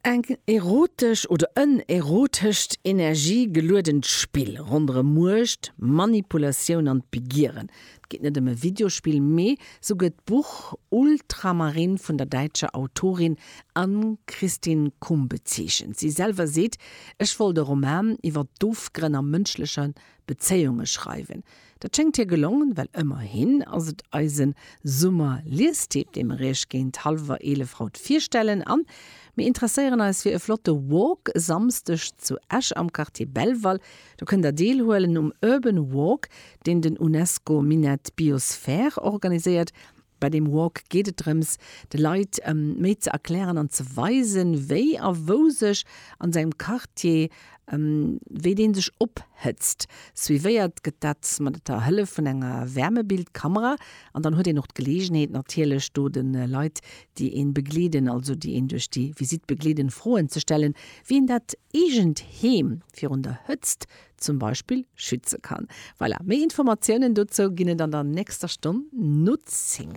Eng erotesch oder en erotescht energiegeluedent Spill ronderëm Muecht, Manipulatioun an d'Begieren. Et geet net ëm e Videospill, mee souguer d'Buch Ultramarine vun der däitscher Autorin Ann-Christin Kumm bezeechent. Si selwer seet, Ech wollt e Roman iwwer d'Ofgrënn a mënschleche Bezéiunge schreiwen. Dat schéngt hir gelongen, well ëmmerhin ass et eise Summer-Liestipp, dee mer iech géint hallwer 11 haut virstellen. An mir interesséieren eis fir e flotte Walk e Samsdeg zu Esch am Quartier Belval. Do kënnt der deelhuelen um Urban Walk, deen den Unesco Minett Biosphere organiséiert. Bei deem Walk geet et drëms, de Leit méi ze erklären an ze weisen, wéi a wou sech an sengem Quartier, wéi dee sech ophëtzt. Suivéiert gëtt dat mat der Hëllef vun enger Wärmebildkamera. An dann huet een och d'Geleegenheet natierlech do de Leit, déi een begleeden, also déi een duerch déi Visitt begleeden, Froen ze stellen, wéi een dat eegent Heem virun der Hëtzt zum Beispill schütze kann. Voilà, méi Informatiounen dozou ginn et an der nächster Stonn no 10.